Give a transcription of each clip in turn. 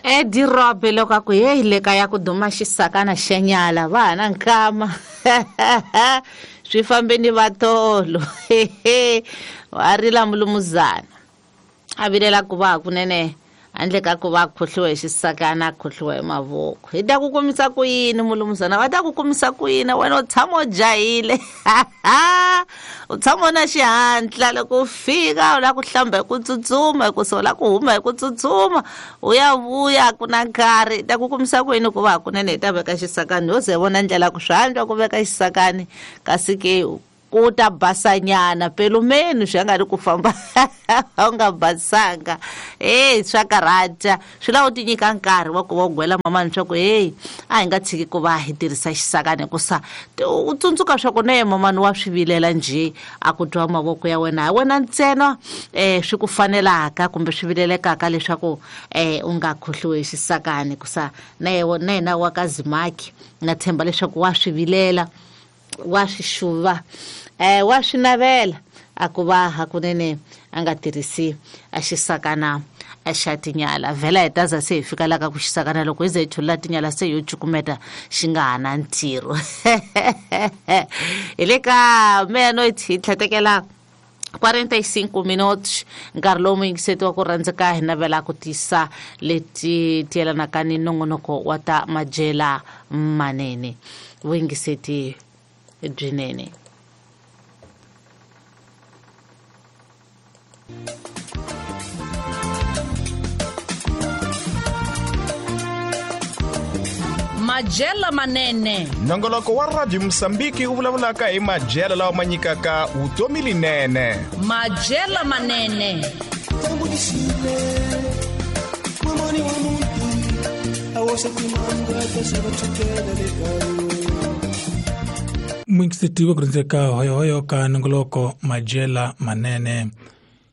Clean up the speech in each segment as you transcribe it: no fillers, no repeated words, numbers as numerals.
Edirobe loko a ku heyi le kaya ku duma xisakana xa nyala va ha na nkama swi fambe ni vatolo wa rila mulumuzana a vilela ku va hakunene handle ka ku va a khohliwa hi xisakana a khohliwa hi mavoko. Hi ta ku kumisa ku yini mulumuzana? Va ta ku kumisa ku yini? Wena u tshama u jahile, u tshama u na xihatla. Loko u fika u lava ku hlamba hi ku tsutsuma, hikusa u lava ku huma hi ku tsutsuma, u ya vuya ku na nkarhi. Hi ta ku kumisa ku yini ku va hakunene hi ta veka xisakani? Ho ze hi vona ndlela ku swi antswa ku veka xisakani, kasi ke ku ta basanyana pelumeni swi nga ri ku famba u nga basanga. Heyi, swa karhata, swi lava u ti nyika nkarhi wa ku va u gwela mamani swa ku heyi, a hi nga tshiki ku va hi tirhisa xisakani, hikusa u tsundzuka swa ku na ye mamani wa swi vilela njhe a ku twa mavoko ya wena. Hi wena ntsena swi ku fanelaka kumbe swi vilelekaka leswaku u nga khohliwi hi xisakani, hikusa na yena wa ka Zimaki na tshemba leswaku wa swi vilela, wa swi xuva, wa swi navela a ku va hakunene a nga tirhisi a xisakana xa tinyala. Vhela hi taza se hi fika la ka ku xisakana loko hi ze hi chulula tinyala se yo cukumeta xi nga ha na ntirho. Hi le ka meia-noite hi tlhetekela 45 minutos, nkarhi lowu muyingiseti wa ku rhandzeka hi navela ku tisa leti tiyelanaka ni nongonoko wa ta madyela manene. Vuyingiseti byinene. Madyela manene. Nongoloko wa Radio Mosambiki u vulavulaka hi madyelo lawa ma nyikaka vutomi linene. Madyela manene. Muyingiseti wa ku rhandzeka, hoyohoyo ka nongoloko Madyela Manene.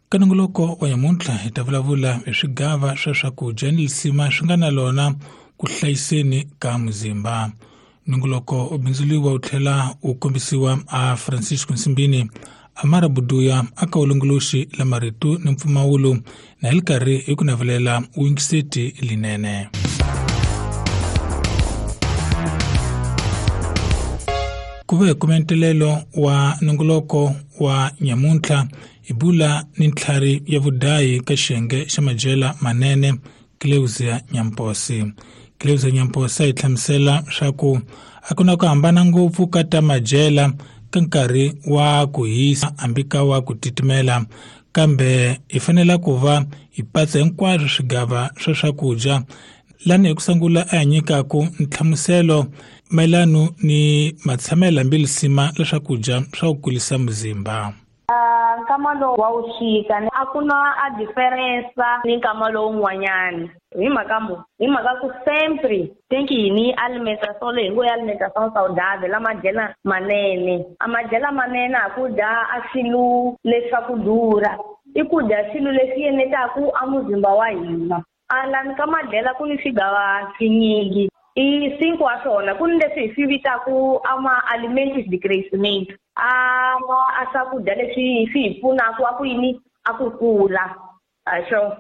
Ka nongoloko wa nyamuntlha hi ta vulavula hi swigava swa swakudya ni lisima swi nga na lona ku hlayiseni ka muzimba. Nongoloko u bindzuriwa u tlhela u kombisiwa a Francisco Nsimbini, Amara Buduya a ka vulongoloxi la marito ni mpfumawulo, na hi li karhi hi ku navelela vuyingiseti linene. Ku va hi kume ntelelo wa nongoloko wa nyamuntlha, hi bula ni ntlhari ya vudayi ka xiyenge xa madyela manene, Cleusia Nyamposi. Cleusia Nyamposi a hi hlamusela swa ku a ku na ku hambana ngopfu ka ta madyela ka nkarhi wa ku hisa hambi ka wa ku titimela, kambe hi fanele ku va hi patsa hinkwaswo swigava swa swakudya. Lani hi ku sungula a hi nyikaku nhlamuselo mayelana ni matshamelo hambi lisima la swakudya swa ku kulisa muzimba. Nkama lowu wa wuxika a ku na a diferensa ni nkama lowun'wanyani hi mhaka mo hi mhaka ku sempre think yini alimentação leyi ngo ya alimentação saudável la madyela manene. A madyela manene a ku dya a swilo leswaku durha, i ku dya swilo leswi yenetaku a muzimba wa hina. A lani ka madyela ku ni swigava swinyingi, i cinco wa swona. Ku ni leswi hi swi vitaku a ma alimentos de crescimento, a ma a swakudya leswi swi hi pfunaka a ku yini a ku kula. A swo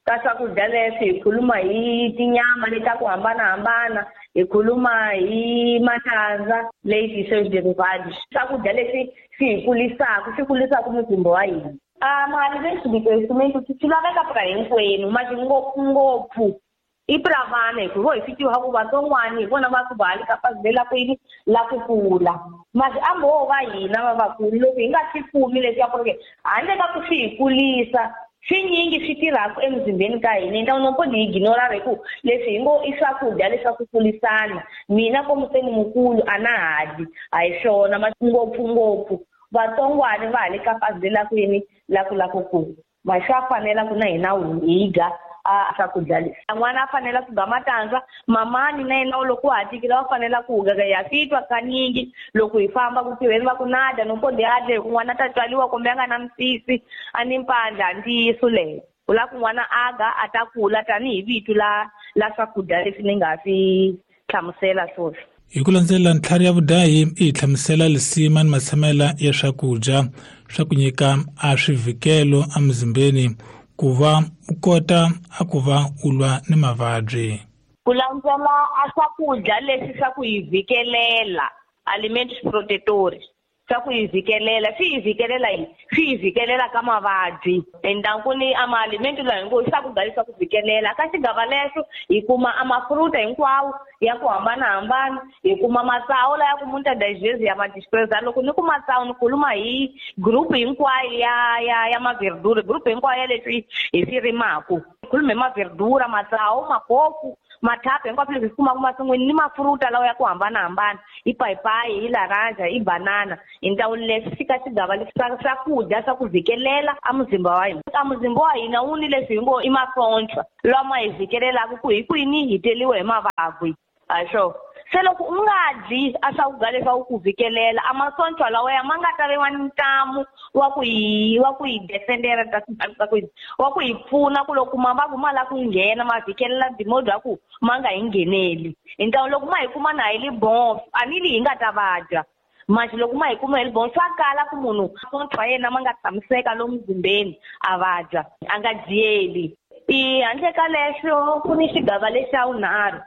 ka swakudya leswi hi khuluma hi tinyama leti ta ku hambanahambana, hi khuluma hi matandza, leyi ti derivados, swakudya leswi swi hi kulisaka, swi kulisaka muzimba wa hina. A mali leswi de crescimento swi laveka pra hinkwenu, mati ngopfungopfu i pra vana, hikuva hi swi tiva ku vatsongwana hi vona va ku va le ka fazi la ku yini la ku kula. Masi a mbo va hina va vakulu loko hi nga swi kumi leswaku ri handle ka ku swi hi kulisa swinyingi swi tirhaka emuzimbeni ka hina. Então não pode ignorar hi ku leswi hi ngo i swakudya leswaku kulisana, mina komu se ni mukulu a na ha dyi, a hi swona. Ngopfungopfu vatsongwana va ha le ka fazi la ku yini la ku la ku kula, ma swa fanela ku na hina hi dya a swakudya leswi. N'wana a fanela ku ga matandza, mamani na yena loko wa ha tikile wa fanela ku ga. Ya swi twa kanyingi loko hi famba ku tirheni va ku na dya no pode a dya hi ku n'wana ta tswariwa kumbe a nga na misisi a ni mpandla, ntiyiso leyo. U lava ku n'wana a ga a ta kula tanihi vito la swakudya leswi ni nga swi hlamusela swoswi. Hi ku landzela ntlhari ya vudahi i hi hlamusela lisima ni matshamela ya swakudya swa ku nyika a swivikelo emuzimbeni, ku va u kota a ku va u lwa ni mavabyi. Ku landzela a swakudya leswi swa ku hi vhikelela, alimentos protetores, swa ku hi vhikelela, swi hi vhikelela yini? Swi hi vhikelela ka mavabyi. Endzhaku ku ni a maalimento lawa hinkwavo i swakudya leswi swa ku vhikelela. Ka xigava lexo hi kuma a mafruta hinkwawo ya ku hambanahambana, hi kuma matsawu laya ku muitas das vezes ya ma desprezar. Loko ni ku matsawu ni khuluma hi group hinkwayo ya maverdura, group hinkwayo ya leswi hi swi rimaku. Hi khuluma hi maverdura, matsawu, makoku, mathapu hinkwaswo leswi hi swi kumaka masin'wini ni mafruta lawa ya ku hambanahambana, i payipayi, i laranja, i banana. Hi ntlawa leswi fika xigava leswi swa swakudya swa ku vhikelela a muzimba wa hina. A muzimba wa hina wu ni leswi hi ngo i masocha lama hi vhikelelaka ku hi kwini hi teliwe hi mavabyi. A swo se loko u nga dyi a swakudya leswaku ku vhikelela a masocha lawa ya ma nga ta viwa ni ntamu wa ku hi wa ku hi defendera ta ku wa ku hi pfuna ku loko mavabyi ma lava ku nghena ma vhikelela dimodi ya ku ma nga hi ngheneli. Hi ntlawa loko ma hi kuma na hi li bon, a ni li hi nga ta vabya. Manje loko ma hi kuma hi li bon, swa kala ku munhu masocha ya yena ma nga tshamiseka lomu muzimbeni a vabya, a nga dyeli. I handle ka leswo ku ni xigava lexa vunharhu.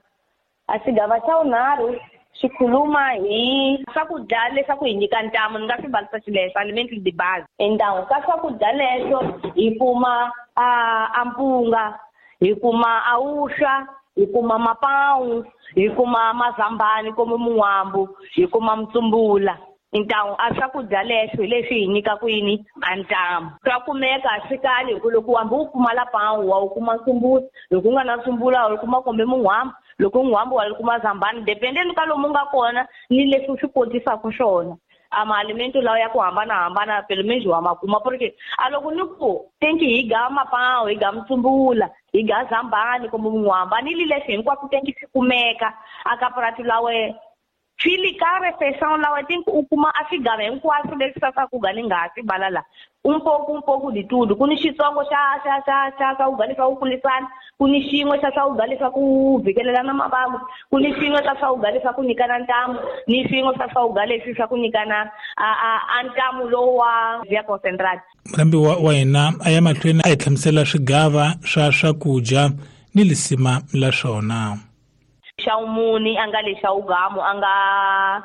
A xigava xa vunharhu xi khuluma hi swakudya leswaku hi nyika ntamu, ni nga swi valisa xileswo, alimentos de base. Endzhaku ka swakudya leswo hi kuma a mpunga, hi kuma a vuswa, hi kuma mapawu, hi kuma mazambani kumbe mun'wambu, hi kuma mutsumbula. Ntamu a swakudya leswo hi leswi hi nyikaka yini a ntamu. Swa kumeka a swi kali hi ku loko hambi u pfumala pawu wa wu kuma ntsumbula, loko u nga na ntsumbula wa wu kuma kumbe mun'wambu, loko mun'wambu wa wu kuma zambani, dependeni ka lomu nga kona ni leswi u swi kotisaka swona. A maalimento lawa ya ku hambanahambana pelo menos wa ma kuma, porque a loko ni ku tenki hi ga mapawu, hi ga mutsumbula, hi ga zambani kumbe mun'wambu, a ni li leswi hinkwaswo tenki swi kumeka a ka purasi la wena. Swi li ka refeição lawa tenki u kuma a swigava hinkwaswo leswi swa swakudya ni nga ha swi vala la. Un pouco, un pouco de tudo. Ku ni xitsongo xa xa xa xa swakudya leswa ku kulisana, ku ni xin'we xa swakudya leswa ku vhikelela na mavabyi, ku ni xin'we xa swakudya leswa ku nyikana ntamu, ni xin'we xa swakudya leswi swa ku nyikana a ntamu lowu wa via concentrate. Murhambi wa hina a ya mahlweni a hi hlamusela swigava swa swakudya ni lisima la swona. Xa vumune a nga le xa vugamu, a nga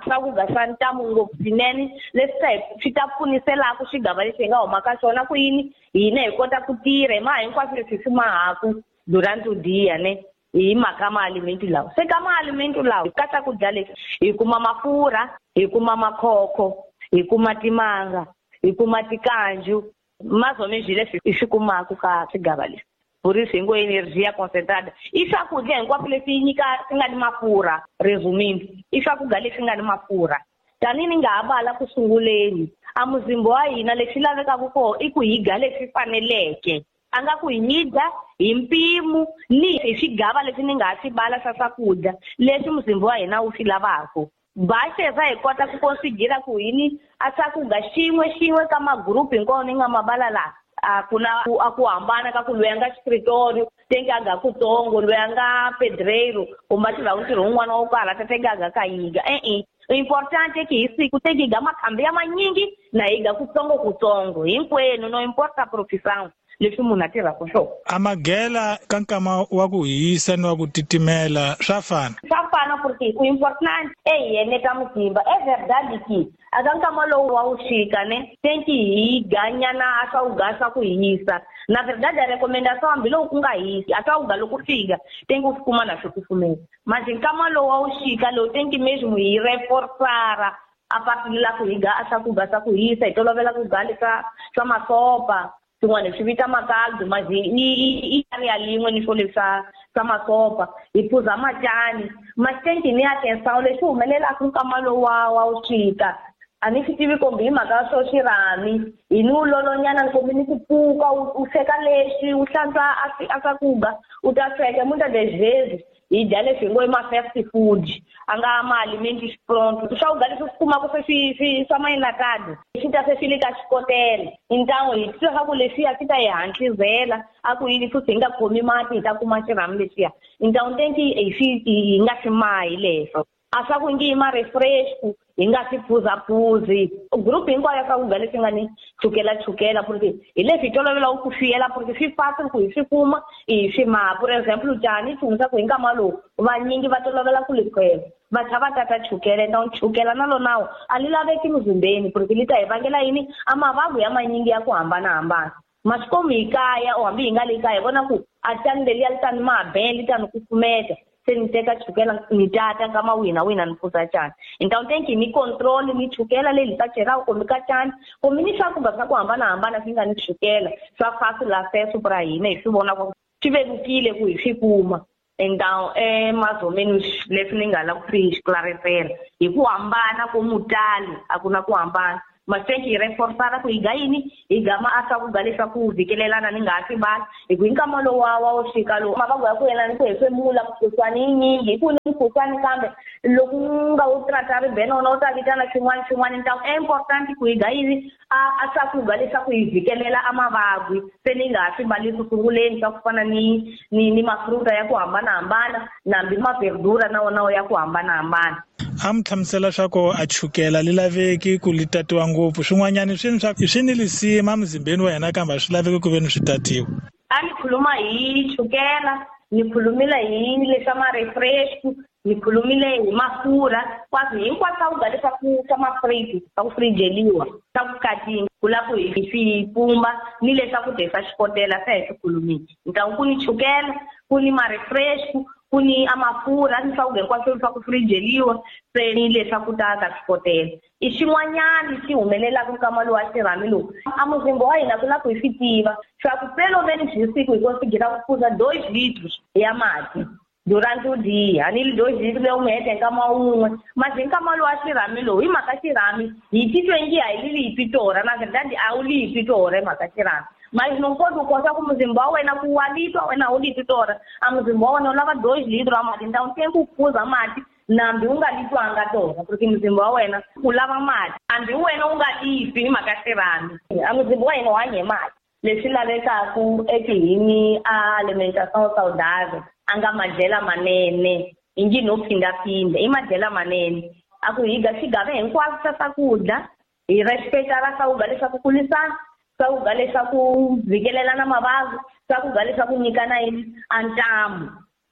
swakudya swa ntamu ngopfu swinene leswi swi ta pfuniselaka xigava lexi hi nga huma ka xona ku yini hina hi kota ku tirha hi maha hinkwaswo leswi hi swi mahaku durante o dia ne hi mhaka maalimento lawa. Se ka maalimento lawa ka swakudya leswi hi kuma mafurha, hi kuma makhokho, hi kuma timanga, hi kuma tikanju, mais ou menos leswi hi swi kumaka ka swigava leswi. Por isso, em energia concentrada. I swakudya hinkwaswo leswi nyika swi nga ni mafurha, resumindo. I swakudya leswi nga ni mafurha. Tanihi ni nga ha vala ku sunguleni, a muzimba wa hina leswi lavekaka kona i ku hi dya leswi faneleke. A nga ku hi dya hi mpimo ni hi swigava leswi ni nga ha swi vala swa swakudya leswi muzimba wa hina wu swi lavaka. Basheza hi kota ku konsigira ku yini a swakudya xin'we xin'we ka magrupu hinkwawo ni nga ma vala laha. A ku na a ku hambana ka ku loyi a nga escritório tenki a ga kutsongo, loyi a nga pedreiro kumbe a tirhaka ntirho wun'wana wo karhi tenki a ga ka yiga. E-e, importante ki hi siku tenki hi ga makhambi ya manyingi na hi ga kutsongo kutsongo hinkwenu, no importa profissão leswi munhu a tirhaka swona. A magela ka nkama wa ku hisa ni wa ku titimela swa fana? Swa fana porque ku important e hi eneta muzimba. É verdade que a ka nkama lowu wa wu xika ne tenki hi ganyana a swakudya swa ku hisa. Na verdade a recomendação hambiloko ku nga hisi a swakudya loko fika tenki u swi kuma na swi kufumela. Manje nkama lowu wa wu xika lowu tenki mesmo hi reforçar a partir la ku hi ga a swakudya swa ku hisa, hi tolovela ku ga leswa swa masopa. Swin'wana hi swi vita makaldu, manje i area lin'we ni swo leswa swa masopa, hi phuza macani. Maxitenki ni atenção lexi humelelaka nkama lowu wa wu xika. A ni swi tivi kumbe hi mhaka swo xirhami, hi ni wu lolonyana kumbe ni ku pfuka, u sweka lexi, u hlantswa a swakudya, u ta sweka. Muitas das vezes hi dya leswi hi ngo i ma-fast food, a nga ma-alimentos pronto. Swakudya leswi swi kumaka se swi swa ma-enlatado, swi ta se swi le ka xikotela. Hintamu hi twa swa ku leswiya swi ta hi hantlisela, a ku yini futhi hi nga khomi mati hi ta kuma xirhami lexiya. Hintamu tenki hi swi hi nga swi mahi leswo. A swa ku ngi i ma-refresh hi nga swi phuzaphuzi. Group hinkwayo ya swakudya leswi nga ni chukela chukela porque hi leswi hi tolovelaka ku fiyela porque swi fácil ku hi swi kuma hi swi maha. For example cani tshungisa ku hi nkama lowu vanyingi va tolovela ku likhwela va tlha va tata chukele na chukela na lonawo a li laveki muzimbeni porque li ta hi vangela yini a mavabyi ya manyingi ya ku hambanahambana. Maswikomu hi kaya or hambi hi nga le kaya hi vona ku a cani leliya li ta ni maha li ta ni kufumeta se ni teka chukela ni tata nkama wihi na wihi na ni phuza cani. Então tem que ni controle ni chukela leyi ni ta chelaka kumbe ka cani kumbe ni swakudya swa ku hambanahambana swi nga ni chukela swa fácil acesso pra hina hi swi vona ku swi vevukile ku hi swi kuma. Então mais ou menos leswi ni nga lava ku swi esclarecer hi ku hambana ko mutali a ku na ku hambana. Mas tem que reforçar ku hi ga yini hi gama a swakudya leswaku vhikelelana ni nga ha swi vali hi ku hi nkama lowu wa wo fika lowu mavabyi ya ku yelana ni ku hefemula mukhuhlwani yi nyingi hi ku ni mukhuhlwani kambe loko u nga wu trata ribena wona wu ta vitana swin'wana swin'wana. Então é importante ku hi ga yini a swakudya leswaku hi vhikelela a mavabyi se ni nga ha swi vali ku sunguleni swa ku fana ni mafruta ya ku hambanahambana nambi maverdura na wona ya ku hambanahambana. A mi hlamusela swa ku a chukela li laveki ku li tatiwa ngopfu swin'wanyani swi swa swi ni lisima muzimbeni wa hina kambe a swi laveki ku ve ni swi tatiwa. A ni khuluma hi chukela, ni khulumile hi leswa ma-refresh, ni khulumile hi mafurha kwaswi hinkwaswo swakudya leswaku swa mafriji swa ku frijeliwa swa ku katinga ku lava ku hi swi pumba ni leswakudya swa xikotela se hi swi khulumile. Então ku ni chukela, ku ni ma-refresh, ku ni a mafurha ni swakudya hinkwaswo swa ku frijeliwa se ni leswaku ta ka xikotela. I xin'wanyana xi humelelaka nkama lowu wa xirhami lowu a muzimba wa hina ku lava ku hi swi tiva swa ku pelo menos hi siku hi konsigira ku phuza 2 litros ya mati durante o dia. A ni 2 litros leyi mi heta hi nkama wun'we mas hi nkama lowu wa xirhami lowu hi mhaka xirhami hi titwe ngi a hi li lipi torha na verdade a wu lipi torha hi mhaka xirhami. Mas não pode gostar como muzimba wena ku wa litwa wena u lipi torha a muzimba wa wena u lava 2 litros a mati. Então tem ku phuza mati nambi u nga litwanga torha porque muzimba wa wena u lava mati hambi wena u nga lipi hi mhaka xirhami a muzimba wa hina wu hanya hi mati. Leswi lavekaku ekihini a alimentação saudável a nga madyela manene hi ngi no phindaphinda i madyela manene a ku hi ga xigava hinkwaswo swa swakudya hi respecta swakudya leswaku kulisana swakudya leswaku vhikelelana mavabyi swakudya leswaku nyikana yini a ntamu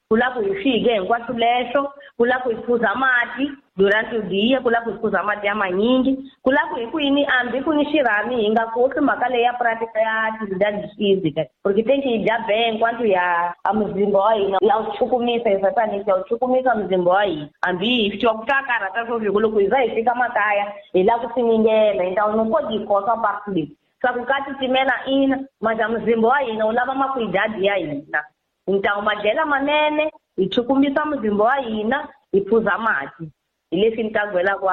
ku lava ku hi swike hinkwaswo leswo ku lava ku hi phuza mati durante o dia ku lava ku hi phuza mati ya manyingi ku lava ku hi ku yini hambi ku ni xirhami hi nga kosi mhaka leyi ya prática ya atividade física porque tem que hi dya bem enquanto ya a muzimba wa hina ya wu chukumisa exatamente ya wu chukumisa muzimba wa hina hambi hi twa ku ta karhata swo fika loko hi za hi fika makaya hi lava ku siningela então não pode ir kosa parte leyi swa ku ka titimela ina mas a muzimba wa hina wu lava makwidadi ya hina. Então madyela manene hi chukumisa muzimba wa hina hi phuza mati hi leswi ni ta gwelaka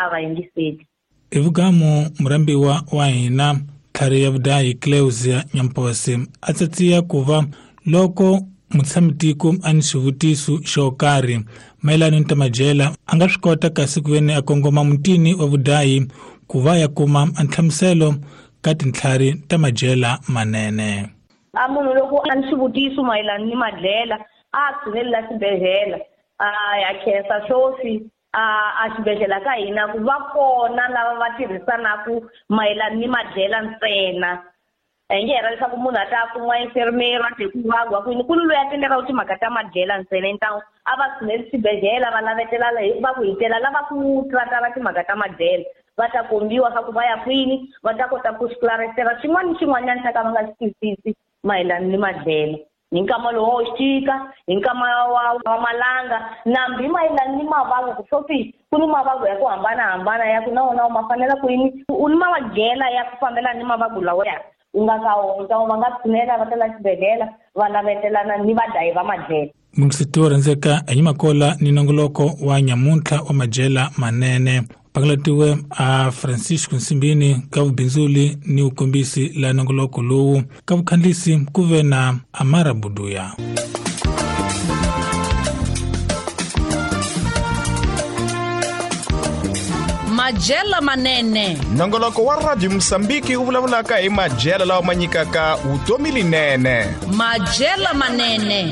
a vayingiseli. Hi vugamu murhambiwa wa hina tlhari ya vudahi Cleusia Nyampose a tsatsiya ku va loko mutshami-tiko a ni xivutiso xo karhi mayelana ni ta madyela a nga swi kota kasi ku ve ni a kongoma mutini wa vudahi ku va ya kuma a nhlamuselo ka tintlhari ta madyela manene. A munhu loko a ni xivutiso mayelana ni madyela a tshineli la xibedhlele a ya khensa swoswi a xibedhlele ka hina ku va kona lava va tirhisanaku mayelana ni madyela ntsena. A hi nge hera leswaku munhu a ta kuma enfermeiro a te ku vagwa kwini ku ni loyi a tendelaku timhaka ta madyela ntsena. Então a va tshineli xibedhlele va lavetela va ku hitela lava ku tratara timhaka ta madyela va ta kombiwa swa ku va ya kwini va ta kota ku esclarecer xin'wana ni xin'wanyana xa ka va nga xi twisisi mayelana ni madyela hi nkama lowu wo xika hi nkama wa malanga nambi mayelana ni mavabyi ku swoswi ku ni mavabyi ya ku hambanahambana ya ku na wona ma fanela ku yini u ni madyela ya ku fambelana ni mavabyi lawa ya u nga ka wona. Então va nga tshinela va tela xibedhlele va lavetelana ni vadlayi va madyela. Mungiseti wo rhandzeka hi Makola ni nongoloko wa nyamuntlha wa madyela manene pakalatiwe a Francisco Nsimbini ka vubindzuli ni vukombisi la nongoloko lowu ka vukhandlisi ku ve na Amara Buduya. Madyela manene nongoloko wa Radio Mosambiki wu vulavulaka hi madyela lawa ma nyikaka vutomi linene. Madyela manene.